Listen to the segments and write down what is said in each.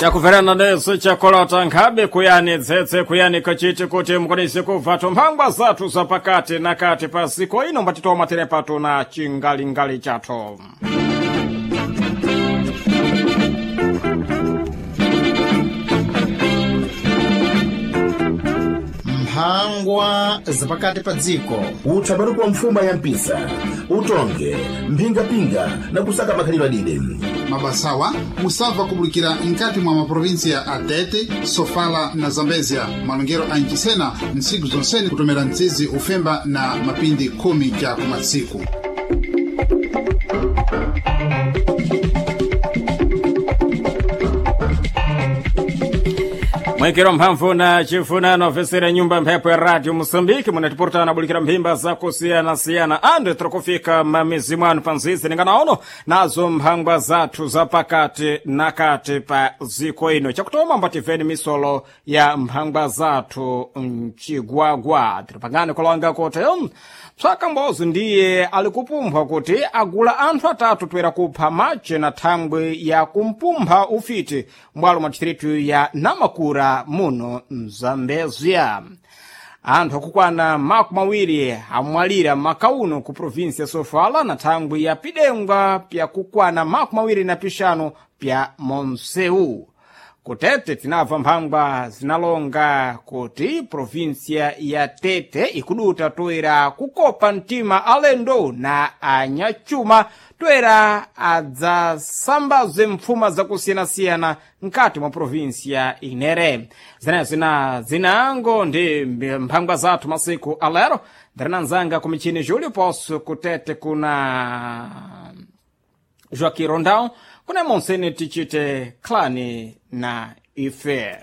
Chakuverana nesu chakolota nkhabe kuyani dzetse kuyani kachiti kuti mukwanise kubva tumphangwa zathu zapakati na kati pa ziko ino mbatitoma tere patu na chingalingali chathu. Mphangwa zapakati pa dziko. Utsabaruku wa mfuma ya mpisa, utonge mphingapinga na kusaka makhalidwe adide. Mabasawa musabva kubulikira nkati mwa maprovinsiya a Tete, Sofala na Zambezia, malongero a nchisena ntsiku zonsene kutomera mtsizi ufemba na mapindi 10 ja kumatsiku. Mwikiro mphamvu na chifunano ofesera nyumba mphepo ya radio Moçambique munatipurutana bulikira mphimba zakusiyana-siyana ande tirikufika mamizi mwanu panzizi ninganaono nazo mphangwa zathu zapakati na kati pa ziko ino. Chakutoma mbativeni misolo ya mphangwa zathu mchigwagwa tiripangane kulonga kuti psaka mbozi ndiye alikupumpha kuti agula anthu atatu toera kupha mache na thangwi ya kumpumpha ufiti mbwalo mwa distritu ya Namakura muno mZambezia. Anthu akukwana 20 amwalira makauno ku provinsi ya Sofala na thangwi ya pidengwa pyakukwana 25 pya Monseu. Kutete tinabva mphangwa zinalonga kuti provinsiya ya Tete ikuduta toera kukopa mtima alendo na anyachuma toera adzasambaze mpfuma zakusiyanasiyana nkati mwa provinsiya inere. Zenezo na zinango ndi mphangwa zathu masiku alero. Ndirinanzanga ku michini Julio Posso kutete kuna Joaquim Rondão kuna monsene tichite klani na ife.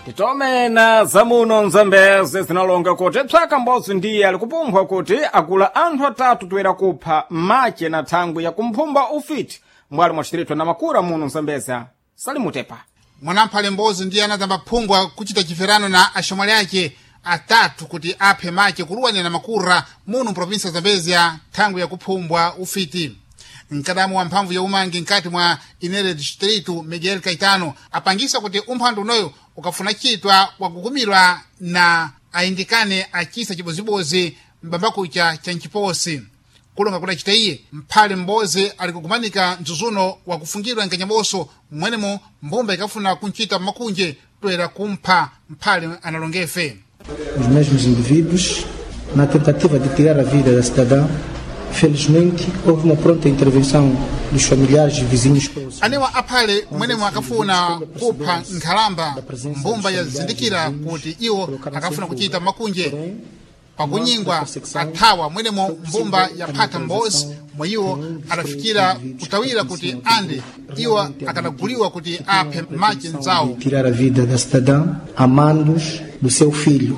Titome na zamuno nzambeze zinalonga kuti psaka mbozi ndiye alikupumpha kuti agula anthu atatu toera kupha mache na thangwi ya kumphumba ufiti mbwalo mwa distrito na Makura muno Mzambeza. Salimutepa. Mwanamphale mbozi ndiye anatamba phungwa kuchita chiferano na axomwali ake atatu kuti aphe mache kuluwani na Makura muno mprovinsi ya Zambezia thangwi yakuphumbwa ufiti. Mkadamu wa mphamvu ya umangi nkati mwa inere distrito Miguel Caetano apangisa kuti umphandu unoyo ukafuna chitwa wakukumirwa na ayindikane achisa chibozibozi mbambakucha cha nchiposi. Kulonga kudacita iye mphale mbozi ali kugumanika mzuzuno wakufungidwa nkanyaboso mwenemo mbumba ikafuna kunchita makunje toera kumpha mphale analongefe. Os mesmos indivíduos, na tentativa de tirar a vida da cidadã, felizmente houve uma pronta intervenção dos familiares e vizinhos próximos. Anewa aphale mwenemo akafuna kupha nkhalamba, mbumba yazindikira kuti iwo akafuna kuchita makunje pakunyingwa athawa mwenemo mbumba yaphatha mbozi mweyiwo adafikira kutawira kuti ande iwo akadaguliwa kuti aphe mache nzawo. Tirar a vida da cidadã a mandos do seu filho.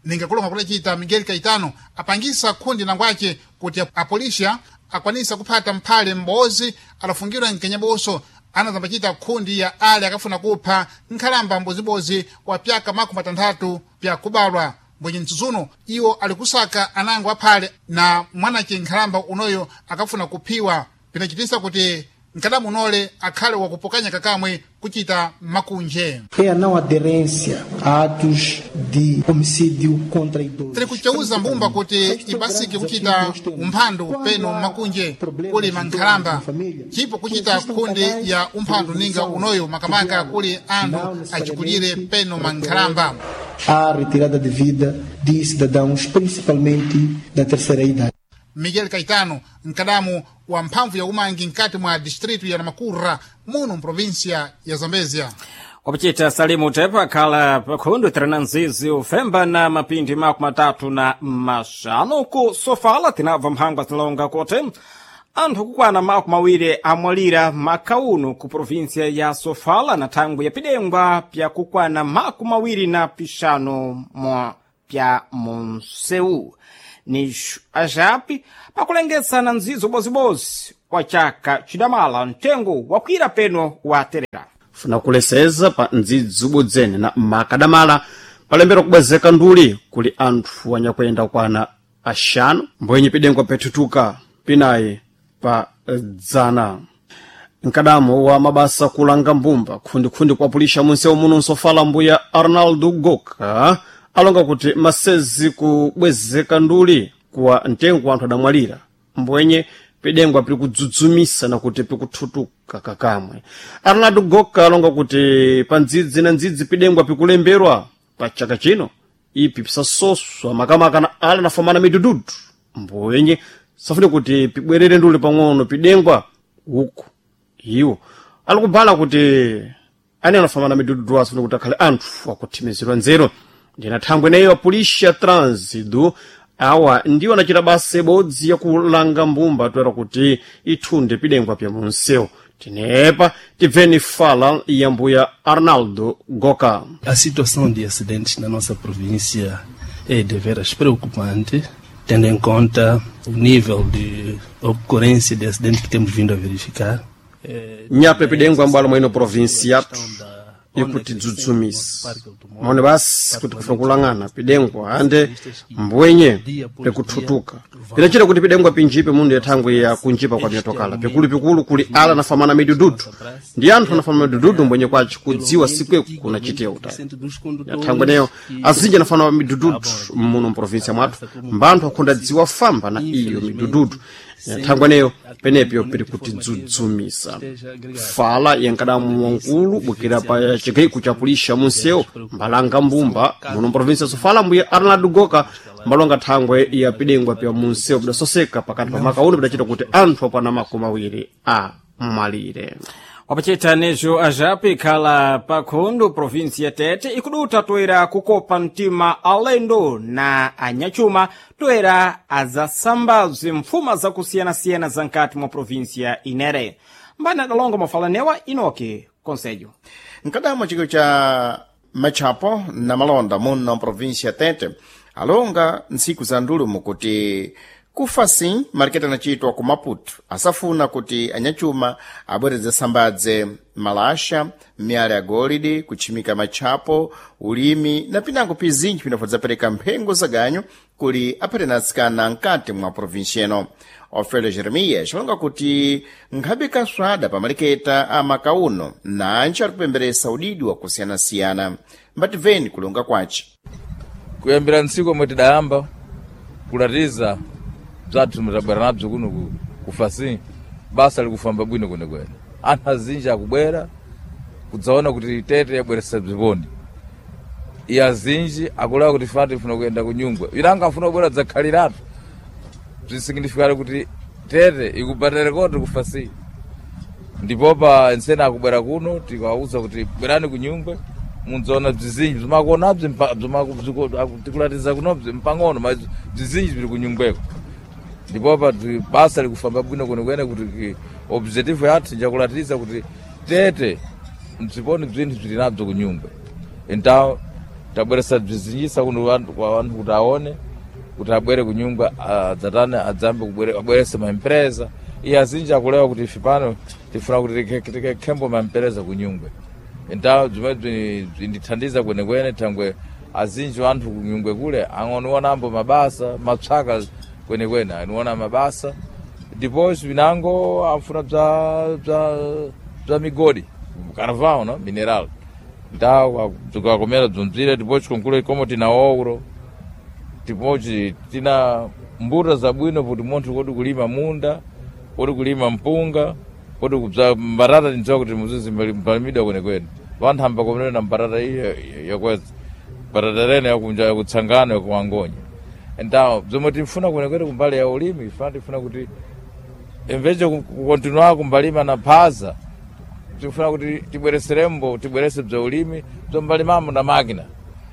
Ningakulonga kudacita Miguel Caetano apangisa khundi nangwace kuti apolisiya akwanisa kuphata mphale mbozi adafungidwa mkenyaboso anazambacita khundi ya ale akafuna kupha nkhalamba mbozibozi wa pyaka 60 pyakubalwa. Mbwenye mtsutsuno iwo alikusaka anango aphale na mwanace nkhalamba unoyo akafuna kuphiwa, pinachitisa kuti mkadamu unole akhale wakupokanya kakamwe kuchita makunje. É a não aderência a atos de homicídio contra idosos. Tiri kucheuza mbumba kuti ibasike kuchita umphandu peno makunje kuli mankhalamba, chipo kuchita khundi ya umphandu ninga unoyo makamaka kuli anthu achikulire peno mankhalamba. A retirada de vida de cidadãos, principalmente da terceira idade. Miguel Caetano, mkadamu wa mphamvu ya umangi nkati mwa distritu ya Namakura muno mprovinsia ya Zambezia. Wapichita Salimu Tepa khala pakhundu tirina nzizi ufemba na mapindi 35 ku Sofala tinabva mphangwa zinalonga kuti anthu kukwana 20 amwalira makauno ku provinsiya ya Sofala na thangwi ya pidengwa pyakukwana 25 mwa pya Monseu. Ni ajapi pakulengetsana nzizo bozibozi wa chaka chidamala mtengo wakwira peno wa terera. Funa kuleseza pa ndzidzi ubodzene na makadamala. Palembera kubwezeka nduli kuli anthu anyakuyenda kwana axanu mbwenye pidengwa pethutuka pinayi pa dzana. Mkadamo wa mabasa kulanga mbumba khundikhundi kuapulisha munsewu muno nsofala mbuya Arnaldo Goka alonga kuti masezi kubwezeka nduli kuwa mtengo anthu adamwalira mbwenye pidengwa pili kudzudzumisa na kuti pikuthutuka kakamwe. Arnaldo Goka alonga kuti pa ndzidzi na ndzidzi pidengwa pikulemberwa pa chaka chino ipi pisasoswa makamaka na ala nafamana midududu mbwenye safune kuti pibwerere nduli pang'ono pidengwa uku iwo alikubala kuti ane anafamana midududu asifune kuti akhale anthu akuthimizidwa nzeru. Ndina thangwe ineyo apulisha trânsido awa ndiwo anachita basa ibodzi yakulanga mbumba toera kuti ithunde pidengwa pya munsewu. Tinepa tibveni fala ya mbuya Arnaldo Goka. A situação de acidentes na nossa província é deveras preocupante, tendo em conta o nível de ocorrência de acidentes que temos vindo a verificar. Nyape pidengwa mbwalo mwino provinsi yathu ikutidzudzumisa maone basi kuti kufuna kulang'ana pidengwa ande mbwenye pikuthutuka pinachita kuti pidengwa pinjipe mundu yathangwe ya kunjipa kwa myotokala pikulupikulu kuli ala nafamana midududu ndi anthu anafamana midududu mbwenye kwaci kudziwa sikweku kunachitiya utali yathangwe neyo azinji anafana midududu muno mprovinsia mwathu mbanthu akhonda dziwa famba na iyo midududu. Thangwe neyo penepyo pili kutidzudzumisa. Fala yankadamu wankulu bukira pa chigaiko cha pulisha munsewu mbalanga mbumba muno mprovinsia sofala mbuya Arnaldo Goka mbalonga thangwe ya pidengwa pya munsewu pidasoseka pakati pa maka uno pidachita kuti anthu apana 20 amwalire. Wapachita nezo ajapi ikhala pakhundu provinsi ya Tete ikuduta toera kukopa mtima alendo na anyachuma toera azasambazwe mfuma zakusiyanasiyana za nkati mwa provinsi ya Inere. Mbani adalonga mafalanewa Inoki Conselho. Mkadamo chiko cha machapo na malonda muno província ya Tete alonga ntsiku za ndulumo kuti kufasi maliketi anachitwa ku Maputo asafuna kuti anyachuma abwereze sambadze malasha, miyala ya golide, kutchimika matchapo, ulimi na pinango pizinji pinafodzapereka mphengo za ganyu kuli aphate atsikana mkati mwa província ino. Ofelio Jeremias alonga kuti nkhabe kaswada pa maliketa a makauno nanji alikupemberesa udidi wakusiyanasiyana. Mbativeni kulonga kwace. Kuyambira ntsiku omwe tidayamba kulatiza bzathu mutabwera nabzo kuno kufasi basa likufamba bwino kwenekwene. Anthu azinji akubwera kudzaona kuti Tete yabweresa bziponi. Iye azinji akulewa kuti fana tifuna kuyenda kunyungwe inanga afuna kubwera dzakhaliratu bzisignifikale kuti Tete ikubatire koti kufasi. Ndipo pa ensene akubwera kuno tikawauza kuti bwerani kunyungwe mudzaona bzizinji bzimakuonabzi tikulatiza kunobzi mpang'ono ma bzizinji bzili kunyungweko. Ndipo pa basa likufamba bwino kwenekwene kuti objective yathu njakulatiza kuti Tete mziponi bzinthu bzili nabzo kunyungwe. Então tabweresa bzizinjisa kuno kwa anthu kuti aone kuti abwere kunyungwe adzatane adzambe abwerese maempresa. Iye azinji akulewa kuti ife pano tifuna kuti tikekhembo maempresa kunyungwe. Então zimwe bzindithandiza kwenekwene thangwe azinji anthu kunyungwe kule ang'onuonambo mabasa mapsaka kwenekwene anuona mabasa. Depois vinango afuna bza migodi carvão no mineral. Então tukakomera bzonzire depois konkule como tina ouro depois tina mbuta zabwino kuti munthu kodi kulima munda kodi kulima mpunga kodi kubza mbatata tindziwa kuti muzizi mpalimidwa kwenekwene. Vanthu amba komenera na mbatata iyo yakweza mbatata rene yakunja yakutsangano yakuwangonya. Então bzomwe tifuna kwenekwene kumbali ya ulimi ifana tifuna kuti emveje kukontinua kumbalima na phaza tifuna kuti tibwereserembo tibwerese bza ulimi bzombalimamo na makina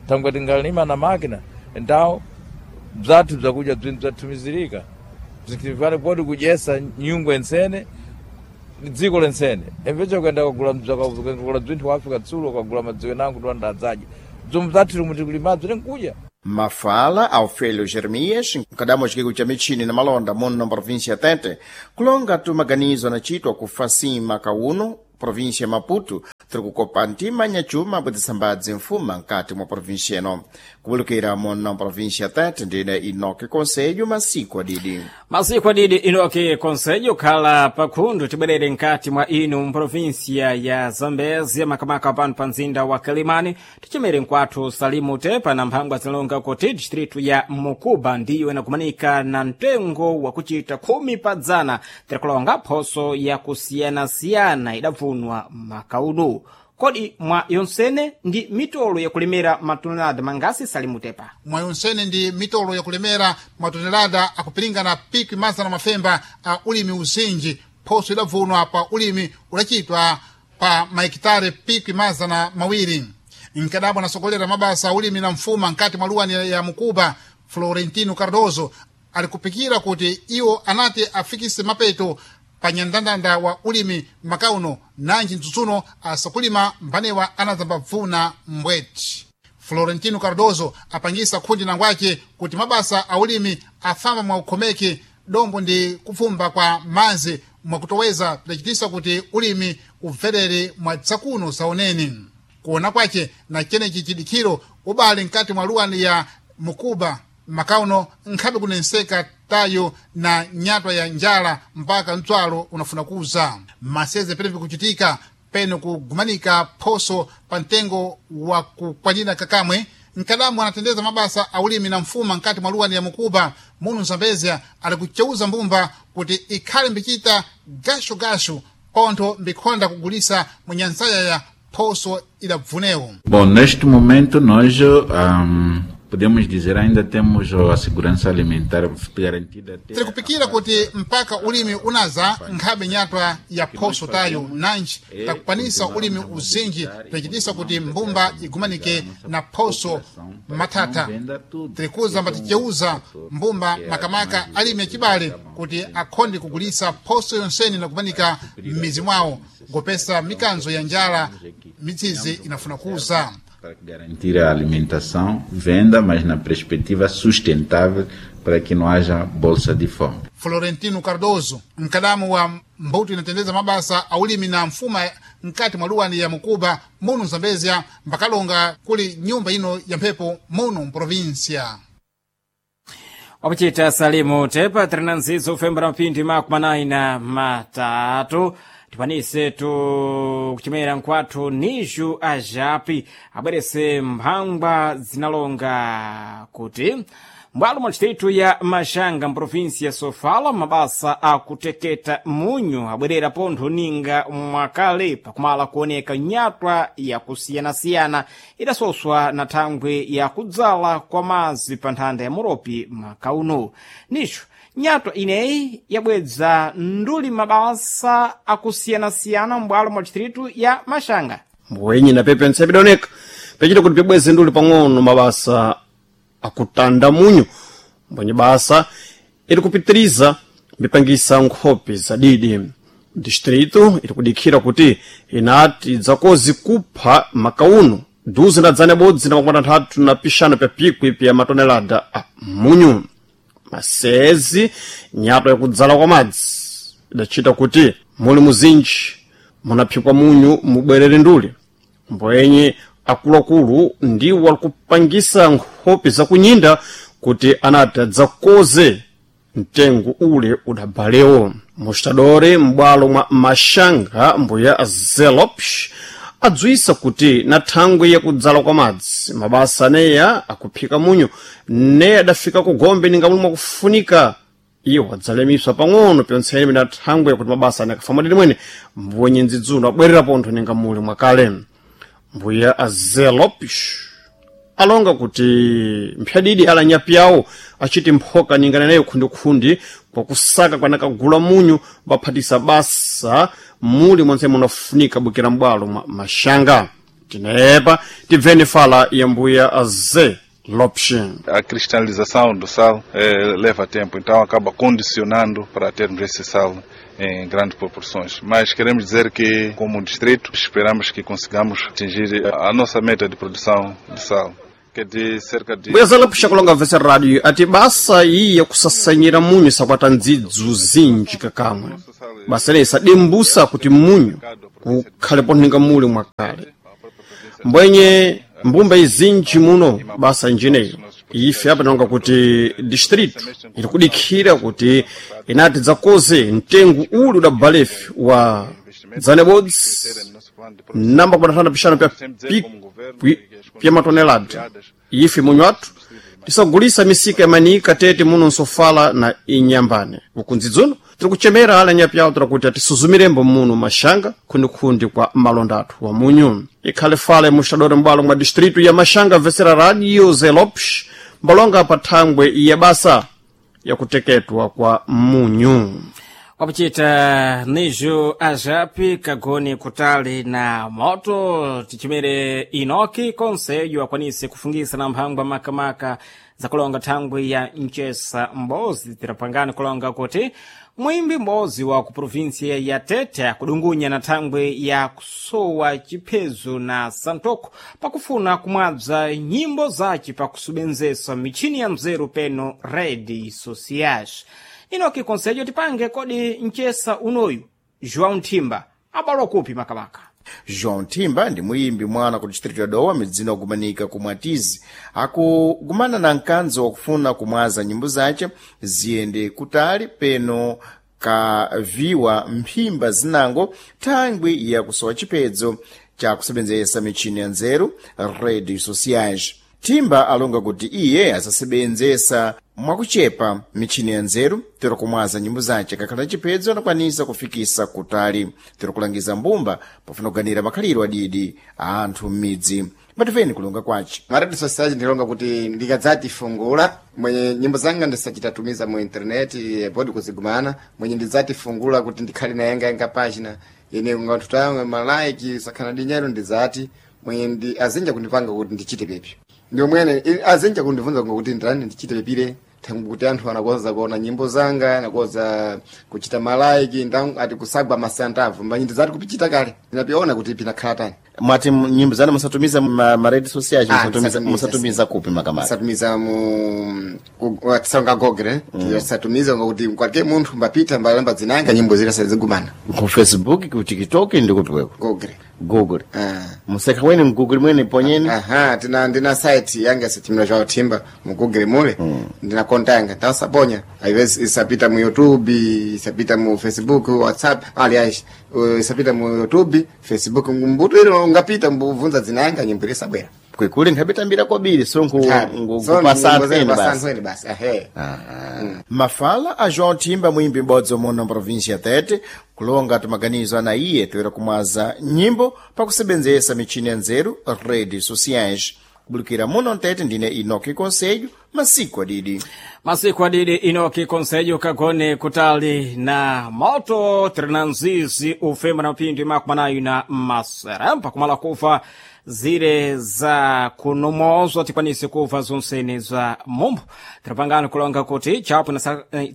thangwe tingalima na makina então bzathu bzakudya bzinthu bzathumizirika bzinkhilifane poti kudyesa nyungwe ensene dziko lensene emveje kuyenda kugula bzinthu ku Africa tsulo ukagula madziwe nangu tiwanda adzadya bzomwe bzathu lomwe tikulimabzo tinkudya. Mafala Alfelio Jeremias mkadamo chikiko cha michini na malonda muno província ya Tete kulonga tu maganizo anachitwa kufasi maka uno Província ya Maputo tiri kukopa ntima nyacuma bwedzisambadzi mfuma nkati mwa província ino. Kuwulukira muno província Tete ndine Inoki Conselho masiku adidi. Masiku adidi Inoki Conselho khala pakhundu tibwerere nkati mwa inu mprovinsia ya Zambezia makamaka pano pa mzinda wa Kalimani tichimere nkwathu Salimu Tepa na mphangwa zinalonga kuti distritu ya Mukuba ndiyo inakumanika na mtengo wa kuchita 10 pa dzana tirikulonga phoso yakusiyanasiyana idabvunwa makauno. Kodi mwa yonsene ndi mitolo yakulemera matonelada mangasi Salimu Tepa? Mwa yonsene ndi mitolo yakulemera matonelada akupiringana pikwi mazana mafemba a ulimi uzinji phoso idabvunwa pa ulimi udachitwa pa maekitare pikwi 200. Nkadabwa anasogolera mabasa a ulimi na mfuma nkati mwa luwani ya Mukuba, Florentino Cardoso alikupikira kuti iwo anati afikise mapeto pa nyandandanda wa ulimi makauno nanji mtsutsuno asakulima mbanewa anazambabvuna mbweti. Florentino Cardoso apangisa khundi nangwace kuti mabasa a ulimi afamba mwa ukhomeki dombo ndi kupfumba kwa manzi mwakutoweza pidacitisa kuti ulimi ubverere mwa tsakuno saoneni. Kuona kwace na chenechi chidikhiro ubale mkati mwa luwani ya Mukuba makauno nkhabe kunenseka tayo na nyatwa ya njala mpaka mtswalo unafuna kuza maseze pene pikuchitika pene kugumanika phoso pa mtengo wa kukwanira kakamwe. Nkadamu anatendeza mabasa a ulimi na mfuma nkati mwa luwani ya Mukuba munu Zambezia ali kuceuza mbumba kuti ikhale mbichita gashugashu pontho mbikhonda kugulisa munyansaya ya phoso idabvunewo. Bom, neste momento nós podemos dizer ainda temos a segurança alimentar garantida até Tiri kupikira kuti mpaka ulimi unaza nkhabe nyatwa ya phoso tayo nanji takukwanisa ulimi uzinji tidacitisa kuti mbumba igumanike na phoso mathatha. Tirikuza mbaticeuza mbumba makamaka alimi acibale kuti akhonde kugulisa phoso yonseni na kumanika m'mizi mwawo ngopesa mikanzo ya njala mitsizi inafuna kuza. Para garantir a alimentação, venda, mas na perspectiva sustentável para que não haja bolsa de fome. Florentino Cardoso mkadamu wa mbuto inatendeza mabasa a ulimi na mfuma mkati mwa luwani ya Mukuba munu Zambezia mbakalonga kuli nyumba ino ya mphepo munu mprovinsia. Wakuchita Salimu Tepa tiri nzizo ufembera mphindi makumi anayi na matatu tipanise tu kuchimera nkwathu Niju Ajapi abwerese mphangwa zinalonga kuti mbwalo mwa distritu ya Maxanga mprovinsi ya Sofala mabasa akuteketa munyu abwerera pontho ninga mwakale pakumala kuoneka nyatwa yakusiyanasiyana idasoswa na thangwi ya kudzala kwa mazi pa nthanda ya Moropi makauno. Nicho nyatwa ineyi yabwedza nduli mabasa akusiyanasiyana mbwalo mwa distritu ya Maxanga. Mbwenyi na pepe ntsepidoneka pechita kuti pibweze nduli pang'ono mabasa akutanda munyu mbwenye basa iri kupitiriza mbipangisa nkhope zadidi. Distrito iri kudikhira kuti inati dzakozi kupha makauno duzi na dzana ibodzi na makumi atanthatu na pixanu pya pikwi pya matonelada a munyu. Masezi nyatwa yakudzala kwa madzi idacita kuti muli muzinji munaphikwa munyu mubwerere nduli mbwenye akuluakulu ndiwo alikupangisa nkhope zakunyinda kuti anati adzakoze mtengo ule udabalewo. Mostadore m'bwalo mwa Maxanga mbuya Zelopsh adzwisa kuti na thangwi yakudzala kwa madzi mabasa aneya akuphika munyu ne adafika ku gombe ninga muli mwakufunika iwo adzalemiswa pang'ono pyontsene na thangwi yakuti mabasa ane akafa mwadidi mwene mbwenye ndzidzuno abwerera pontho ninga muli mwakale. Mbuya Azelopish alonga kuti mphyadidi alanyapi yawo achiti mphoka ningana nayo khundikhundi kwakusaka kwanakagula munyu baphatisa basa muli monse munafunika bukira m'bwalo mwa Maxanga. Tinepa tibveni fala ya mbuya Aze Lopes. A cristalização do sal leva tempo, então acaba condicionando para termos esse sal em grandes proporções. Mas queremos dizer que, como distrito, esperamos que consigamos atingir a nossa meta de produção de sal, que é de cerca de... Mbuya Zé Lopes akulonga vese rádio ati basa iyi yakusasanyira munyu sakwata ndzidzu zinji kakamwe. Basa leyi sadimbusa kuti munyu Kukhalepo ninga muli mwakale mbwenye mbumba izinji muno basa njineyo ife apa tinonga kuti distritu iri kudikhira kuti inati dzakoze mtengo uli udabalefi wa dzanebodzi namba kubatana pixanu pya pikwi pya matonelada. Ife munyu athu tisagulisa misika ya manika tete muno nsofala na inyambane. Ukunzidzuno tiri kuchemera ala nyapyawo tira kuti atisuzumirembo muno Mashanga khundikhundi kwa malonda athu wa munyu. Ikhale fale muxadore mbwalo mwa distritu ya Mashanga vesera Radio Zelopsh mbalonga pa thangwe ya basa yakuteketwa kwa munyu. Wapuchita nijo ajapi kagoni kutali na moto tichimere Inoki Konsejo akwanise kufungisa na mphangwa makamaka za kulonga thangwi ya mchesa mbozi. Tirapangani kulonga kuti mwimbi mbozi wa ku provinsia ya Tete akudungunya na thangwi ya kusowa chiphezo na santoko pakufuna kumwabza nyimbo zace pakusubenzesa michini ya mzeru peno rede sociais. Inoki Konsejo, tipange kodi mchesa unoyu João Nthimba abalwa kupi makamaka? João Thimba ndi muyimbi mwana ku distrito ya Dowa, midzina okumanika ku Mwatizi. Akugumana na mkanzo wakufuna kumwaza nyimbo zace ziyende kutali peno kaviwa mphimba zinango thangwi yakusowa chiphedzo cha kusebenzesa michini ya nzeru redes sociais. Thimba alonga kuti iye asasebenzesa mwakuchepa michini ya nzeru tero kumwaza nyimbo zace kakhala chiphedzo anakwanisa kufikisa kutali tero kulangiza mbumba pofuna kuganira makhaliro adidi a anthu m'midzi. Matifeni kulonga kwace. Maredio sociais ndilonga kuti ndikadzati fungula mwenye nyimbo zanga ndisachitatumiza mu intaneti podi kuzigumana mwenye ndidzati fungula kuti ndikhale na yanga yanga pachina ine nganthu tawe malike sakhala ndi nyero ndidzati mwenye ndi azinja kundipanga kuti ndichite pepyo ndio mwene azinja kundibvunza kuti ndani ndichite pepire thangu kuti anthu anakonza kuona nyimbo zanga anakonza kuchita malaiki ndangu ati kusagwa masantavu mbanyi ndizati kupichita kale ndinapiona kuti pinakhala tani. Mwati nyimbo zanu musatumiza ma redes sociais? Ah, musatumiza, ndisatumiza. Musatumiza kupi makamaka? Satumiza mu tisanga Google. Satumiza ngokuti kwalike munthu mbapita mbalamba dzinanga nyimbo zile sazigumana. Ku Facebook, ku TikTok ndi kupi kweko? Google. Google. Ah. Museka weni mgoogle mwene ponyeni. Aha, tina ndina site yanga sitimira zwa Thimba mu Google mule. Ndina konta yanga tasaponya aiwezi isapita mu YouTube, isapita mu Facebook, WhatsApp, aliás isapita mu YouTube, Facebook mbuto ilo ungapita mbuvunza dzinanga nyimbo ile sabwera. Kwekuli nkhabitambira kwabiri so nkupasa anthu basi. Basi basi ehe. Mafala a João Thimba mwimbi m'bodzi muno mprovinsia ya Tete kulonga timaganizo ana iye toera kumwaza nyimbo pakusebenzesa michini ya nzeru redes sociais. Kubulukira muno mtete ndine Inoki Conselho masiku adidi. Masiku adidi Inoki Konsejo kagone kutali na moto tirinanzizi ufema na mapindu makumanayo na maserempa kumala kufa zire za kunomozwa tikwanise kuva zonsene za mumbo. Tirapangano kulonga kuti chapo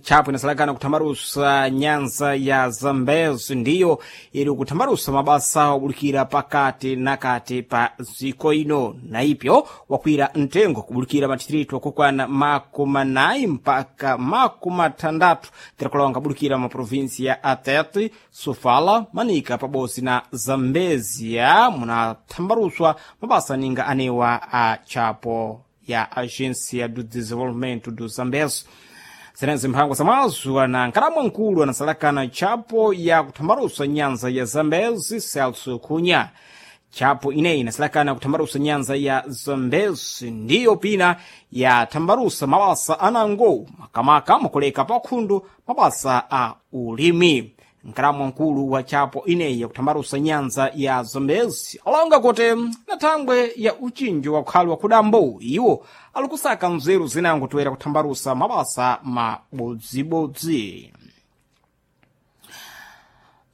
chapo inasalakana kuthamarusa nyanza ya Zambezi ndiyo ili kuthamarusa mabasa obulukira pakati na kati pa ziko ino na ipyo wakwira mtengo kubulukira matitritu okukwana 40 mpaka 60 tirikulonga bulukira maprovinsi ya Atete, Sofala, Manika pabosi na Zambezia munathambaruswa mabasa ninga anewa a chapo ya Agência do Desenvolvimento do Zambezi. Zenezi mphango zamazwa na nkalamwa nkulu anasalakana chapo ya kuthambarusa nyanza ya Zambezi Celso Cunha. Chapo ineyi inasalakana kuthambarusa nyanza ya Zambezi ndiyo pina ya thambarusa mabasa anango makamaka mukuleka pakhundu mabasa a ulimi. Nkalamwa nkulu wa chapo ineyi yakuthambarusa nyanza ya Zambezi alonga kuti na thangwe ya uchinji wa ukhali wa kudambo iwo alikusaka nzeru zinango toera kuthambarusa mabasa mabodzibodzi.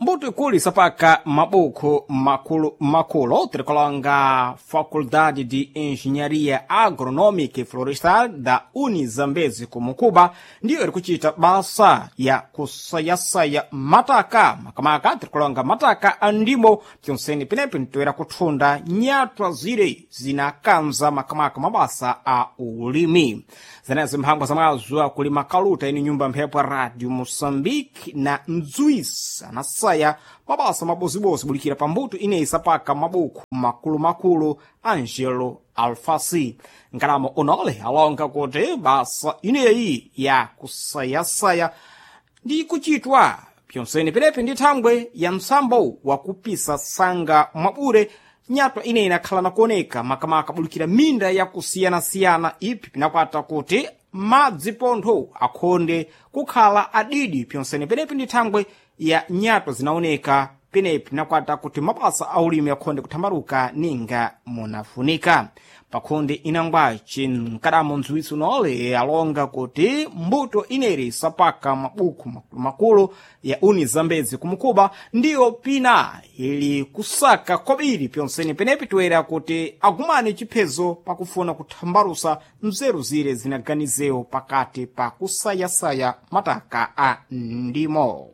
Mbuto ikulu isapaka mabuku makulu makulu tirikulonga Faculdade de Engenharia Agronômica e Florestal da Unizambezi kumukuba ndiyo iri kuchita basa ya kusayasaya mataka makamaka tirikulonga mataka a ndimo pyonsene pinepi ntoera kuthunda nyatwa zire zinakanza makamaka mabasa a ulimi. Zenezi mphangwa zamazwa kuli makaluta ini nyumba mphepo ya Radio Moçambique na Nzuisa anasaya kusayasaya mabasa mabozibozi bulikira pambuto ineyi sapaka mabuku makulumakulu Angelo Alfasi. Nkalamo unole alonga kuti basa ineyi ya kusayasaya ndi kuchitwa pyonsene penepe ndi thangwe ya msambo wakupisa sanga mwabure nyatwa ineyi inakhala nakuoneka makamaka bulikira minda yakusiyanasiyana ipi pinakwata kuti madzi pontho akhonde kukhala adidi pyonsene penepe ndi thangwe ya nyatwa zinaoneka penepi nakwata kuti mabasa aulimi akhonde kuthambaluka ninga munafunika. Pakhonde inangwaci mkadamo mdziwitsi unole alonga kuti mbuto ineri sapaka mabuku makulumakulu ya uni Zambezi kumukuba ndiyo pina ili kusaka kwabiri pyonsene penepi toera kuti agumane chiphezo pakufuna kuthambalusa mzeru zire zinaganizewo pakati pa kusayasaya mataka a ndimo.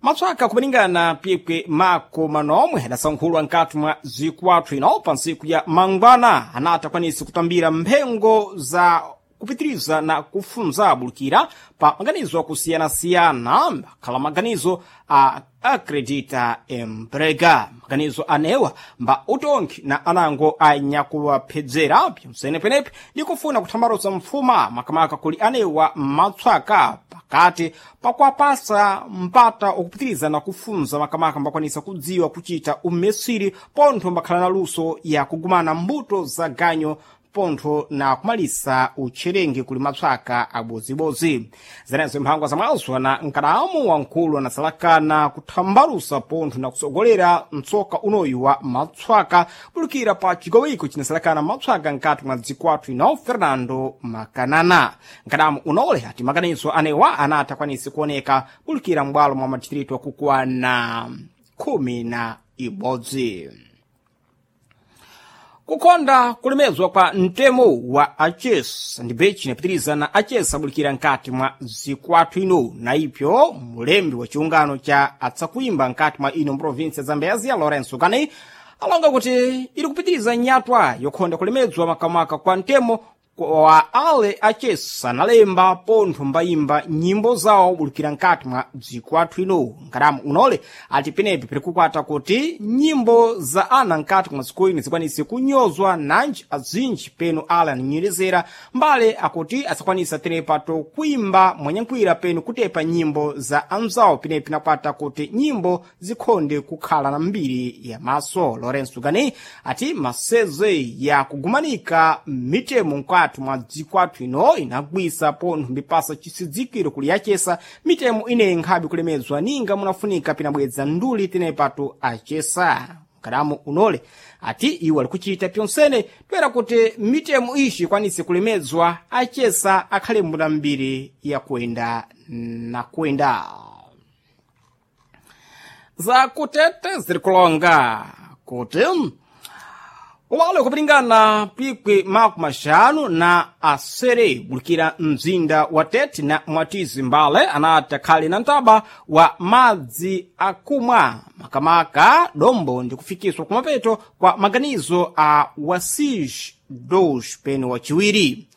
Matswaka kupalingana pyekwe mako manomwe adasankhulwa nkati mwa zikwathu ino pa ntsiku ya mangwana anati akwanise kutambira mphengo za kupitiriza na kufunza bulukira pa maganizo akusiyanasiyana akhala maganizo a Acredita Emprega. Maganizo anewa mba utongi na anango anyakuwaphedzera pyamsenepenepe ndi kufuna kuthambalusa mfuma makamaka kuli anewa matswaka pakati pakuwapasa mpata okupitiriza na kufunza makamaka mbakwanisa kudziwa kuchita umesiri pontho mbakhala na luso ya kugumana mbuto za ganyo pontho na kumalisa utcherenge kuli matswaka abozibozi. Zenezo mphangwa zamwazo na nkadamu wamkulu anasalakana kuthambalusa pontho na kusogolera mtsoka unoyu wa matswaka bulukira pa chigawiko chinasalakana matswaka nkati mwa dzikwathu ino Fernando Makanana. Nkadamu unole ati maganizo anewa anati akwanise kuoneka bulukira m'bwalo mwa madistritu akukwana 11. Kukonda kulemezwa kwa mtemo wa achesa ndi bechi inapitiriza na achesa abulikira nkati mwa zikwathu ino na ipyo mulembi wa chiungano cha atsakuimba nkati mwa ino mprovinsi ya Zambezia Lorenzo Kani alonga kuti ili kupitiriza nyatwa yokhonda kulemedzwa makamaka kwa mtemo kwa ale achesa analemba pontho mbayimba nyimbo zawo bulikira nkati mwa dziko athu ino. Nkadamu unole ati penepi pirikukwata kuti nyimbo za ana nkati mwa dziko ino zikwanise kunyozwa nanji azinji peno ale ananyerezera mbale akuti asakwanisa tenepato kuimba mwanyankwira peno kutepa nyimbo za anzawo penepi nakwata kuti nyimbo zikhonde kukhala na mbiri ya maso. Lorenzo Gani ati maseze ya kugumanika mitemo nkati mwa dziko athu ino inagwisa pontho mbipasa chisidzikiro kuli yachesa mitemo ineyi nkhabe kulemedzwa ninga munafunika pinabwedza nduli tenepato achesa. Nkadamu unole ati iwo alikuchita pyonsene toera kuti mitemo ishi ikwanise kulemedzwa achesa akhale mbuna mbiri yakuenda na kuenda. Zakutete ziri kulonga kuti wale kupilingana pikwi 57 bulikira mzinda wa Tete na Mwatizi Mbale anati akhale na mtaba wa madzi akumwa makamaka dombo ndi kufikiswa kumapeto kwa maganizo a Wasij dos peno wachiwiri.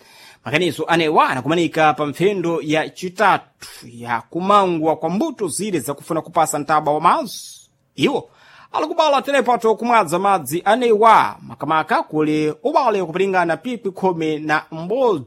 Maganizo anewa anakumanika pa mphendo ya chitatu ya kumangwa kwa mbuto zile zakufuna kupasa mtaba wa madzi iwo alikubala tenepato kumwadza madzi anewa makamaka kuli ubale kupilingana pikwi 11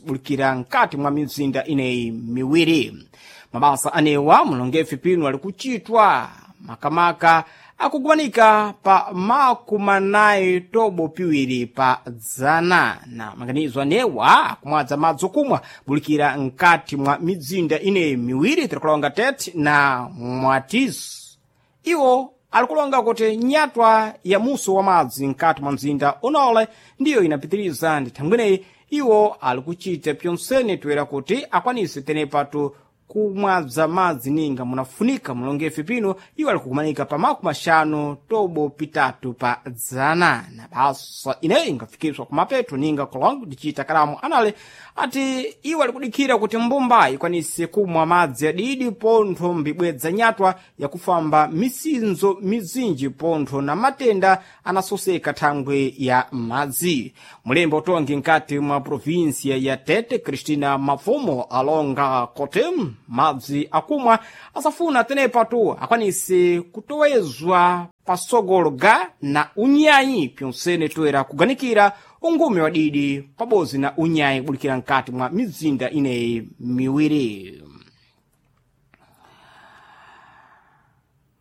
bulikira nkati mwa mizinda ineyi miwiri. Mabasa anewa mulongefe pino ali kuchitwa makamaka akugumanika pa 42% na maganizo anewa akumwadza madzi okumwa bulikira nkati mwa mizinda ineyi miwiri tirikulonga Tete na Mwatizi. Iwo alikulonga kuti nyatwa ya muso wa madzi nkati mwa mzinda unole ndiyo inapitiriza ndi thangweneyi iwo alikuchita pyonsene toera kuti akwanise tenepatu kumwadza madzi ninga munafunika mulongefe pino iwo alikukumanika pa 53% na basa ineyi ingafikiswa kumapeto ninga kulonga ndichita kalamu anale ati iwo alikudikhira kuti mbumba ikwanise kumwa madzi adidi pontho mbibwedza nyatwa yakufamba misinzo mizinji pontho na matenda anasoseka thangwe ya madzi. Mulembe utongi nkati mwa provinsia ya Tete Cristina Mafumo alonga kuti Madzi akumwa asafuna tenepatu akwanise kutowezwa pasogolo ga na unyayi pyonsene toera kuganikira ungume wa didi pabodzi na unyayi kubulikira mkati mwa mizinda ineyi miwiri.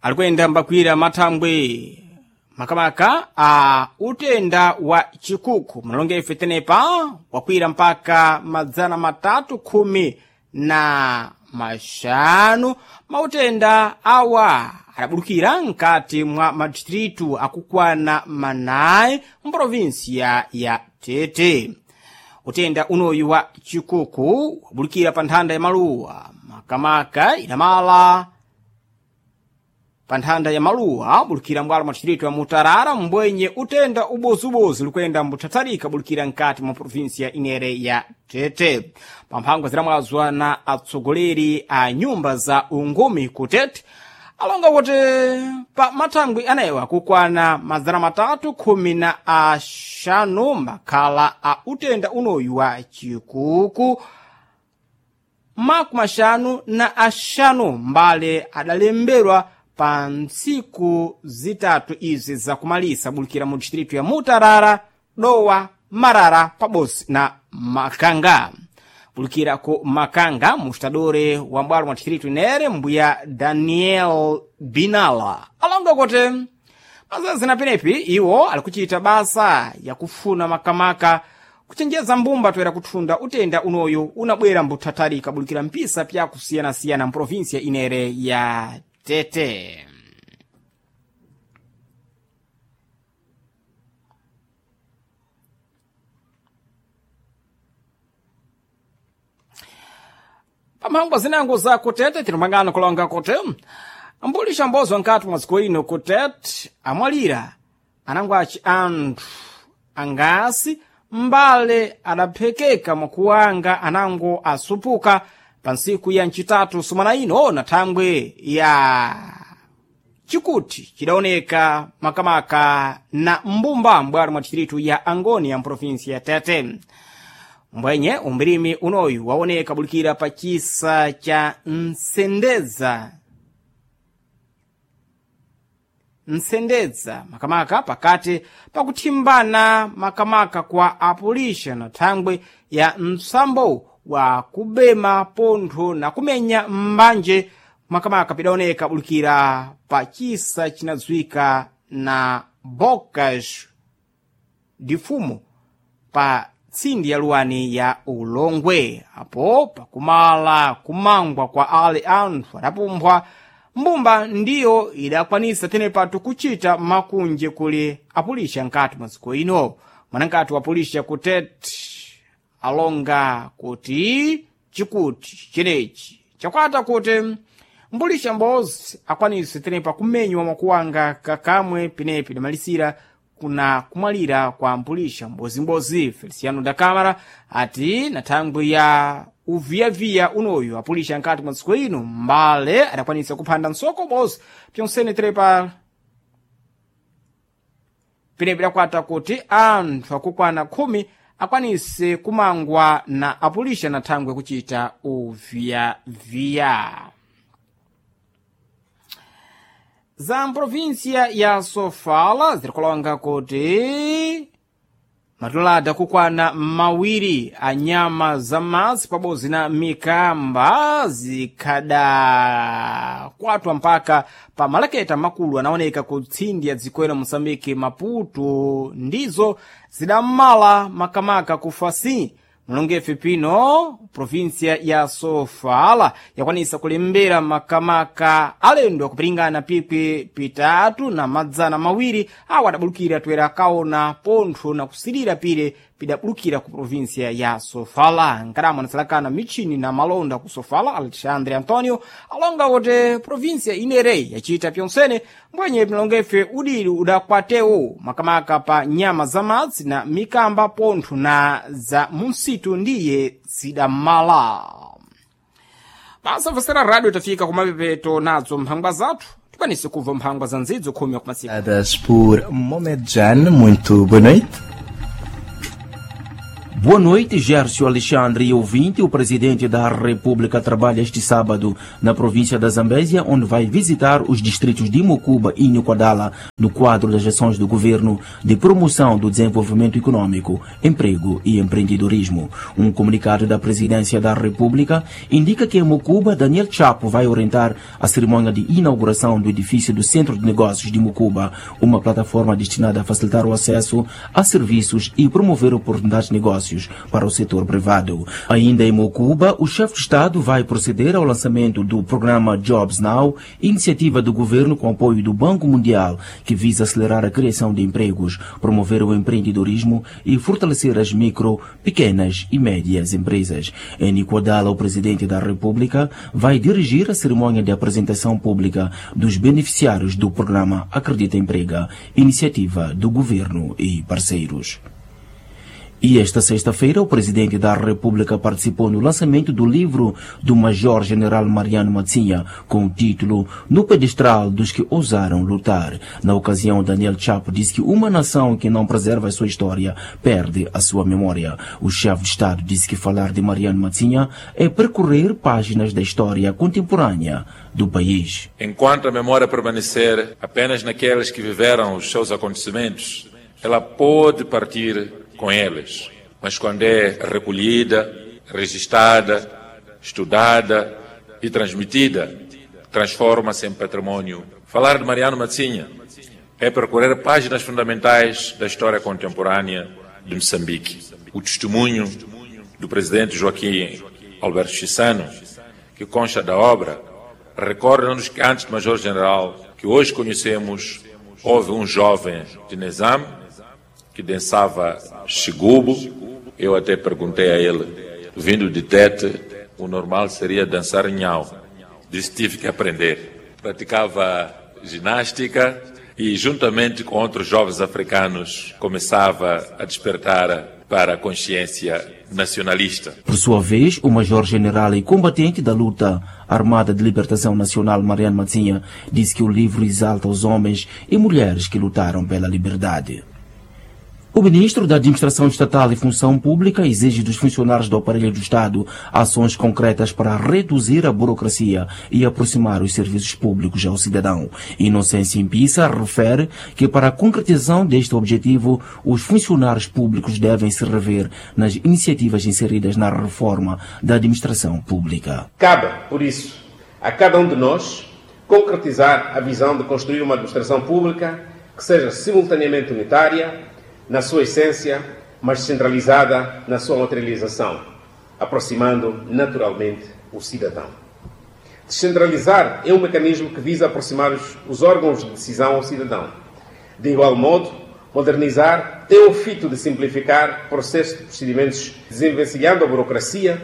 Alikuyenda mbakwira mathambwe makamaka a utenda wa chikuku mnalonga ife tenepa wakwira mpaka 315 mautenda awa adabulukira mkati mwa madistritu akukwana 4 mprovinsiya ya Tete. Utenda unoyu wa chikuku wabulukira pa nthanda ya maluwa makamaka idamala pa nthanda ya maluwa bulukira mbwalo mwa distritu ya Mutarara, mbwenye utenda ubozubozu likuyenda mbuthatharika bulukira nkati mwa provinsia inere ya Tete. Pamphangwa zilamwazwa na atsogoleri a nyumba za ungumi ku Tete alonga kuti pa mathangwi anayewa kukwana 315 makhala a utenda unoyu wa chikuku, 55 mbale adalembedwa pa ntsiku zitatu izi zakumalisa bulukira mu distritu ya Mutarara, Dowa, Marara pabodzi na Makanga. Bulukira ku Makanga, mustadore wa mbwalo mwa distritu inere mbuya Daniel Binala alonga kuti mazazi na penepi iwo alikuchita basa yakufuna makamaka kuchenjeza mbumba toera kuthunda utenda unoyu unabwera mbuthatharika bulukira mpisa pyakusiyanasiyana mprovinsia inere ya Tete. Pamphangwa zinango za kutete tinomangana kulonga kuti mbulisha mbozwa nkati mwa dziko ino kutete amwalira anangwaci anthu angasi mbale adaphekeka mwakuwanga anango asupuka pa ntsiku ya ncitatu sumana ino na thangwe ya chikuti chidaoneka makamaka na mbumba mbwalo mwa distritu ya Angoni ya mprovinsi ya Tete. Mbwenye umbirimi unoyu waoneka bulikira pa chisa cha Nsendedza makamaka pakati pakuthimbana makamaka kwa apulisha na thangwe ya msambo wa kubema pontho na kumenya mbanje makamaka pidaoneka bulikira pa chisa chinadziwika na Bocas difumo pa tsindi ya luwani ya Ulongwe. Apo pakumala kumangwa kwa ale anthu adapumbwa mbumba ndiyo idakwanisa tenepatu kuchita makunje kuli apulisha nkati mwa dziko ino. Mwanankati wa pulisha kutete alonga kuti chikuti chenechi chakwata kuti mbulisha mbozi akwanise tenepa kumenywa mwakuwanga kakamwe penepi idamalisira kuna kumwalira kwa mbulisha mbozimbozi. Feliciano da Câmara ati na thangwi ya uviyaviya unoyu apulisha nkati mwa dziko ino mbale adakwanisa kuphanda nsoko bozi pyonsene tenepa penepi idakwata kuti anthu akukwana 10 akwanise kumangwa na apulisha na thangwe kuchita uviyaviya. Za mprovinsia ya Sofala zirikulonga kuti matulada kukwana 2 a nyama za madzi pabodzi na mikamba zikhadakwatwa mpaka pa malaketa makulu anaoneka ku tsindi ya dziko ino Moçambique Maputo ndizo zidamala makamaka ku Facim. Mulongefe pino provinsia ya Sofala yakwanisa kulembera makamaka alendo akupiringana pikwi 232 awo adabulukira toera akaona pontho na kusilira pire pidabulukira ku provinsia ya Sofala. Nkaramo anasalakana michini na malonda ku Sofala, Alexandre Antonio alonga kuti provinsia inereyi yachita pyonsene mbwenye milongefe udili udakwatewo makamaka pa nyama za madzi na mikamba pontho na za munsitu ndiye zidamala. Pasafosera radio tafika kumapepeto nadzo mphangwa zathu tikwanise kubva mphangwa za nzidzo khumi kumasika Por Momedjan, muito boa noite. Boa noite, Gércio Alexandre e ouvinte. O presidente da República trabalha este sábado na província da Zambésia, onde vai visitar os distritos de Mocuba e Nhuquadala, no quadro das ações do governo de promoção do desenvolvimento econômico, emprego e empreendedorismo. Um comunicado da presidência da República indica que em Mocuba, Daniel Chapo vai orientar a cerimônia de inauguração do edifício do Centro de Negócios de Mocuba, uma plataforma destinada a facilitar o acesso a serviços e promover oportunidades de negócios para o setor privado. Ainda em Mocuba, o chefe de Estado vai proceder ao lançamento do programa Jobs Now, iniciativa do governo com apoio do Banco Mundial, que visa acelerar a criação de empregos, promover o empreendedorismo e fortalecer as micro, pequenas e médias empresas. Em Nicoadala, o presidente da República vai dirigir a cerimônia de apresentação pública dos beneficiários do programa Acredita Emprega, iniciativa do governo e parceiros. E esta sexta-feira, o presidente da República participou no lançamento do livro do Major-General Mariano Matsinha, com o título No Pedestral dos que Ousaram Lutar. Na ocasião, Daniel Chapo disse que uma nação que não preserva a sua história perde a sua memória. O chefe de Estado disse que falar de Mariano Matsinha é percorrer páginas da história contemporânea do país. Enquanto a memória permanecer apenas naqueles que viveram os seus acontecimentos, ela pode partir com eles, mas quando é recolhida, registada, estudada e transmitida, transforma-se em património. Falar de Mariano Matsinha é percorrer páginas fundamentais da história contemporânea de Moçambique. O testemunho do presidente Joaquim Alberto Chissano, que consta da obra, recorda-nos que antes do Major-General que hoje conhecemos, houve um jovem de Nizam que dançava xigubo. Eu até perguntei a ele, vindo de Tete, o normal seria dançar nhau. Disse, tive que aprender. Praticava ginástica e, juntamente com outros jovens africanos, começava a despertar para a consciência nacionalista. Por sua vez, o Major-General e combatente da luta armada de libertação nacional, Mariano Matsinha, disse que o livro exalta os homens e mulheres que lutaram pela liberdade. O ministro da Administração Estatal e Função Pública exige dos funcionários do aparelho do Estado ações concretas para reduzir a burocracia e aproximar os serviços públicos ao cidadão. Inocência Impissa refere que para a concretização deste objetivo, os funcionários públicos devem se rever nas iniciativas inseridas na reforma da administração pública. Cabe, por isso, a cada um de nós concretizar a visão de construir uma administração pública que seja simultaneamente unitária na sua essência, mas centralizada na sua materialização, aproximando naturalmente o cidadão. Descentralizar é um mecanismo que visa aproximar os órgãos de decisão ao cidadão. De igual modo, modernizar tem o fito de simplificar processos de procedimentos, desenvencilhando a burocracia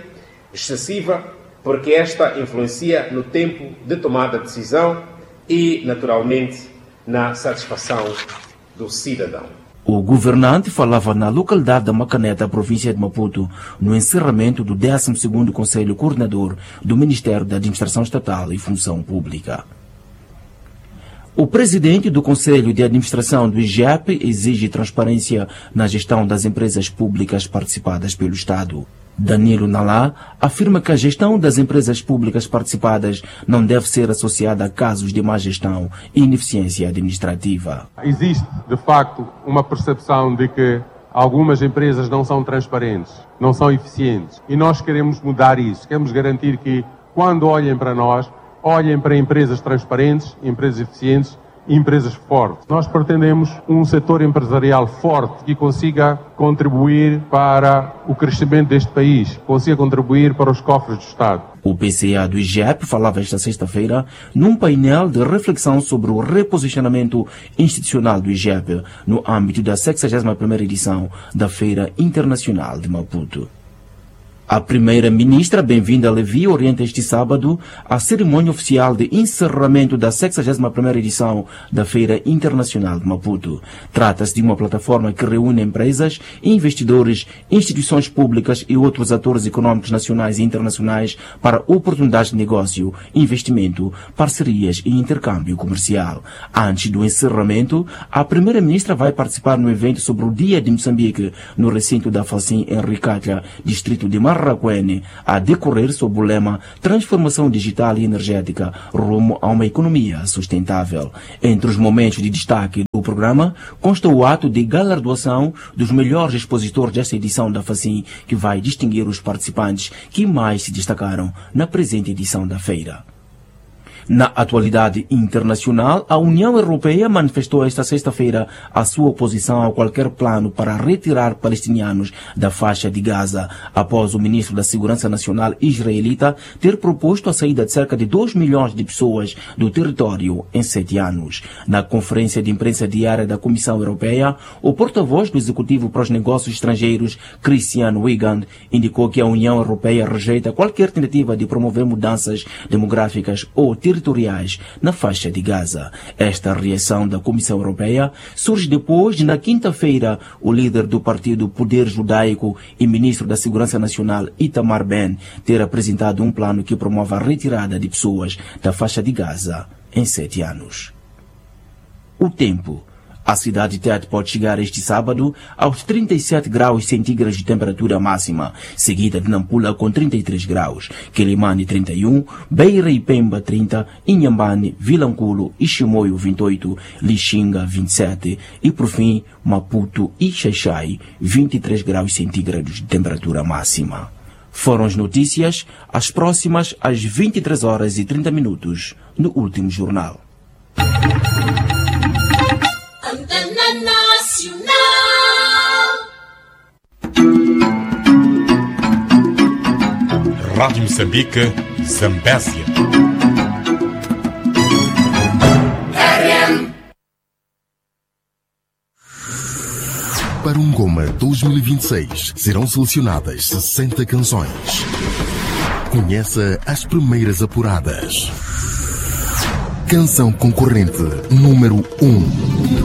excessiva, porque esta influencia no tempo de tomada de decisão e, naturalmente, na satisfação do cidadão. O governante falava na localidade da Macaneta, província de Maputo, no encerramento do 12º Conselho Coordenador do Ministério da Administração Estatal e Função Pública. O presidente do Conselho de Administração do IGEP exige transparência na gestão das empresas públicas participadas pelo Estado. Danilo Nalá afirma que a gestão das empresas públicas participadas não deve ser associada a casos de má gestão e ineficiência administrativa. Existe, de facto, uma percepção de que algumas empresas não são transparentes, não são eficientes. E nós queremos mudar isso. Queremos garantir que, quando olhem para nós, olhem para empresas transparentes, empresas eficientes e empresas fortes. Nós pretendemos um setor empresarial forte que consiga contribuir para o crescimento deste país, consiga contribuir para os cofres do Estado. O PCA do IGEP falava esta sexta-feira num painel de reflexão sobre o reposicionamento institucional do IGEP no âmbito da 61ª edição da Feira Internacional de Maputo. A primeira-ministra Benvinda Levi orienta este sábado a cerimônia oficial de encerramento da 61ª edição da Feira Internacional de Maputo. Trata-se de uma plataforma que reúne empresas, investidores, instituições públicas e outros atores econômicos nacionais e internacionais para oportunidades de negócio, investimento, parcerias e intercâmbio comercial. Antes do encerramento, a primeira-ministra vai participar no evento sobre o Dia de Moçambique, no recinto da Facim, em Ricatla, distrito de Marracuene, a decorrer sob o lema Transformação Digital e Energética rumo a uma economia sustentável. Entre os momentos de destaque do programa consta o ato de galardoação dos melhores expositores desta edição da Facim, que vai distinguir os participantes que mais se destacaram na presente edição da feira. Na atualidade internacional, a União Europeia manifestou esta sexta-feira a sua oposição a qualquer plano para retirar palestinianos da faixa de Gaza, após o ministro da Segurança Nacional israelita ter proposto a saída de cerca de 2 milhões de pessoas do território em 7 anos. Na conferência de imprensa diária da Comissão Europeia, o porta-voz do Executivo para os Negócios Estrangeiros, Christian Wigand, indicou que a União Europeia rejeita qualquer tentativa de promover mudanças demográficas ou territoriais na faixa de Gaza. Esta reação da Comissão Europeia surge depois de, na quinta-feira, o líder do partido Poder Judaico e ministro da Segurança Nacional, Itamar Ben, ter apresentado um plano que promove a retirada de pessoas da faixa de Gaza em 7 anos. O tempo. A cidade de Tete pode chegar este sábado aos 37 graus centígrados de temperatura máxima, seguida de Nampula com 33 graus, Quelimane 31, Beira e Pemba 30, Inhambane, Vilanculo e Chimoio 28, Lixinga 27 e, por fim, Maputo e Xaixai 23 graus centígrados de temperatura máxima. Foram as notícias, as próximas às 23 horas e 30 minutos, no último jornal. Antena Nacional. Rádio Moçambique, Zambésia. RM. Para um Goma 2026 serão selecionadas 60 canções. Conheça as primeiras apuradas. Canção concorrente número 1.